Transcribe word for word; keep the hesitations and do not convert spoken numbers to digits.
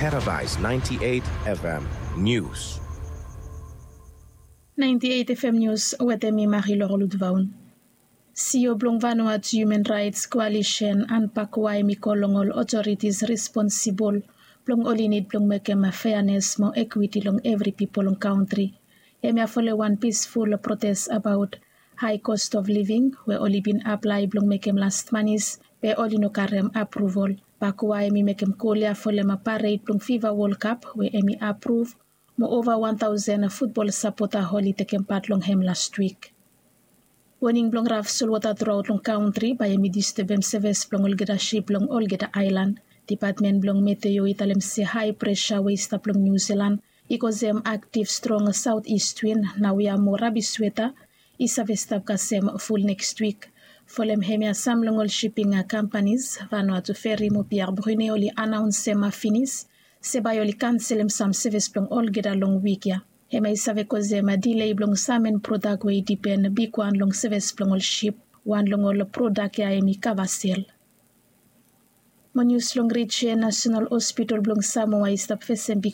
Paradise ninety-eight F M News. Ninety-eight F M News wetem mi Marilor Lutvaun. Sio blong Vanuatu Human Rights Coalition, anpakua, hemi kol long ol otoritis responsibol blong oli nid blong mekem feanes mo ekwiti long evri pipol long kantri. Hemia folem wan pisful protes abaot hae kost of living we oli bin aplae blong mekem las manis, be oli no karem apruvol. Pakua hemi mekem kol ya folem pared blong Fiva Wol Kap we hemi apruv, mo ova wan taosen futbol sapota oli tekem pat long hem las wik. Woning blong raf solwota truaot long kantri bae hemi distebem seves blong olgeta sip long olgeta aelan. Dipatmen blong meteo i talem se hae presa we i stap long Niu Silan i kosem aktiv strong saot ist win naoia mo rabis weta i save stap kasem ful neks wik. Folem hemia sam long ol siping kampanis, Vanuatu Feri mo Pier Brune, oli anaonsem finis se bae oli kanselem sam seves blong olgeta long wik ya. Hemia i save kosem dilei blong sam en prodak we i dipen bigwan long seves blong ol sip. Wan long ol prodak ya hemi kava sel. Mo nius long rijen, Nasenal Hospitol blong Samoa i stap fesem big